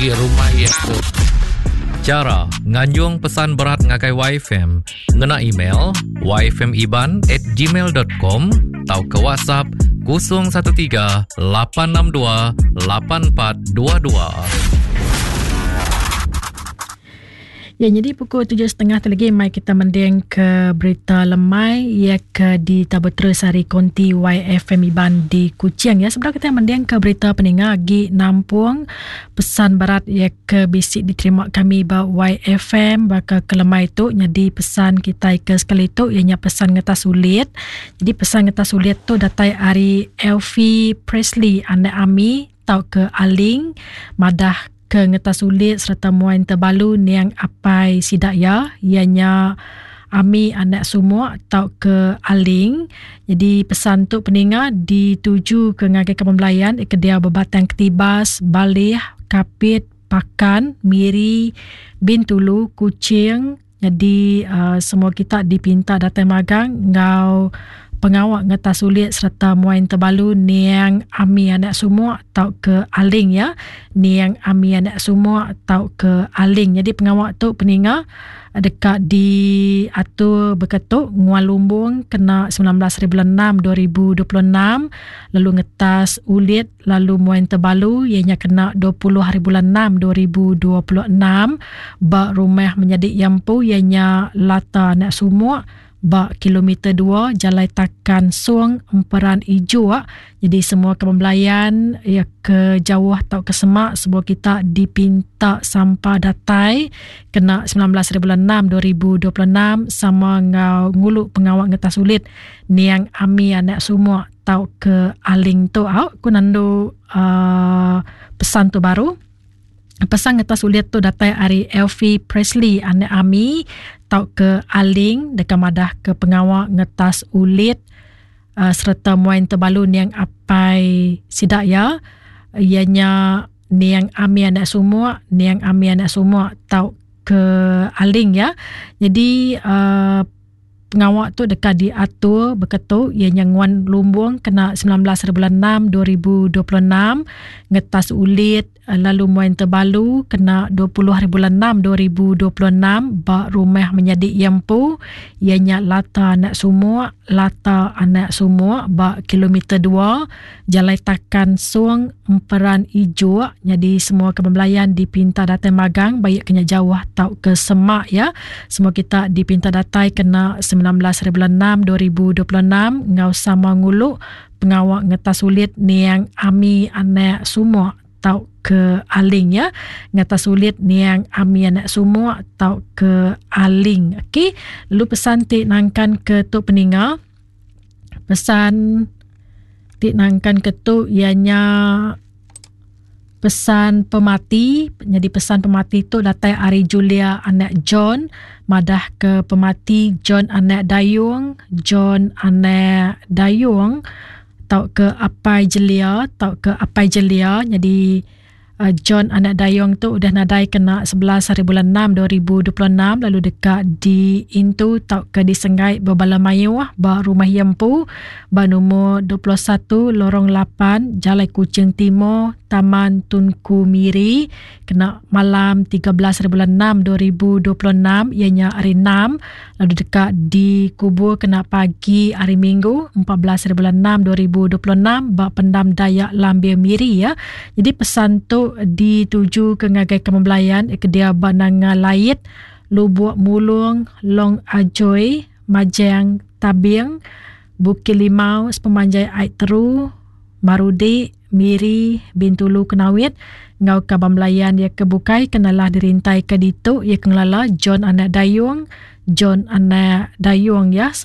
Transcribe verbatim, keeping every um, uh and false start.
Rumah iya tu. Chara nganjung pesan berat ngagai Y F M ngena email y f m iban at gmail dot com tau ke WhatsApp kosong satu tiga lapan enam dua lapan empat dua dua. Ya, jadi pukul tujuh setengah tu lagi mai kita mending ke berita lemai ya ke di Tabu Terus hari konti Y F M Iban di Kuching ya. Sebenarnya kita mending ke berita peninga agi nampung pesan berat ya ke bisik diterima kami ba Y F M baka ke lemai tu jadi pesan kita ke sekali tu ianya pesan ngetas sulit. Jadi pesan ngetas sulit tu datai ari Elfie Presley anak Ami tau ke Aling madah ke ngetas sulit serta muain terbalu niang apai sidak ya ianya Ami anak sumuk tau ke Aling. Jadi pesan tu peninga dituju ke ngagai ke pembelayan ke dia berbatang Ketibas, Balih, Kapit, Pakan, Miri, Bintulu, Kuching. Jadi uh, semua kita dipinta datang magang ngau pengawak ngetas sulit serta muain terbalu niang Ami anak sumuk tau ke Aling ya. Niang Ami anak sumuk tau ke Aling. Jadi pengawak tu peninga dekat diatur berketuk Nguan Lumbung kena sembilan belas bulan enam dua ribu dua puluh enam, lalu ngetas ulit lalu muain terbalu ianya kena dua puluh hari bulan enam dua ribu dua puluh enam ba rumah menyadik yampu ianya Lata anak sumuk ba kilometer dua Jalai Takan Suang Emperan Ijo. Jadi semua kebelayan ya ke jauh atau ke semak semua kita dipinta sampah datai kena sembilan belas bulan enam dua ribu dua puluh enam sama ngau ngulu pengawak ngetas sulit niang Ami anak sumuk tau ke Aling tu au ku nandu uh, pesan tu baru. Pesan ngetas sulit tu datai ari Elfie Presley anak Ami tau ke Aling dekat madah ke pengawak ngetas ulit uh, serta muain terbalu niang apai sidak ya ianya niang Ami anak sumuk niang Ami anak sumuk tau ke Aling ya. Jadi uh, pengawak tu dekat diatur berketuk ianya Nguan Lumbung kena sembilan belas bulan enam dua ribu dua puluh enam ngetas ulit lalu muain terbalu kena dua puluh hari bulan enam dua ribu dua puluh enam ba rumah menyadik yampu ianya Lata anak sumuk Lata anak sumuk ba kilometer dua Jalai Takan Suang Emperan Ijo. Jadi semua kebelayan dipinta datang magang baik kena jauh tau ke semak ya. Semua kita dipinta datai kena sembilan belas hari bulan enam dua ribu dua puluh enam ngau sama nguluk pengawak ngetas sulit niang Ami anak sumuk tau ke Aling ya. Ngetas sulit niang Ami anak sumuk tau ke Aling. Okey, lu pesan ti nangkan ke tu peninga. Pesan ti nangkan ke tu ianya pesan pemati. Jadi pesan pemati tu datai ari Julia anak John madah ke pemati John anak Dayung John anak Dayung tau ke apai Jelia tau ke apai Jelia. Jadi uh, John anak Dayung tu udah nadai kena sebelas hari bulan enam dua ribu dua puluh enam lalu dekat di intu tau ke disenggai berbala mayuh ba rumah Yempu ba nombor dua puluh satu Lorong lapan Jalai Kuching Timur Taman Tunku Miri kena malam tiga belas hari bulan enam dua ribu dua puluh enam ianya hari enam lalu dekat dikubur kena pagi hari Minggu empat belas hari bulan enam dua ribu dua puluh enam ba pendam Dayak Lambir Miri ya. Jadi pesan tu dituju ke ngagai kemembelayan ke dia ba Nanga Lait, Lubuk Mulung, Long Ajoy, Majang Tabing, Bukit Limau, Sepemanjai Aik Teru, Marudi, Miri, Bintulu, Kenawit, ngau kabam belayan dia kebukai kenalah dirintai ke ditu ia kengelala John anak Dayung, John anak Dayung ya.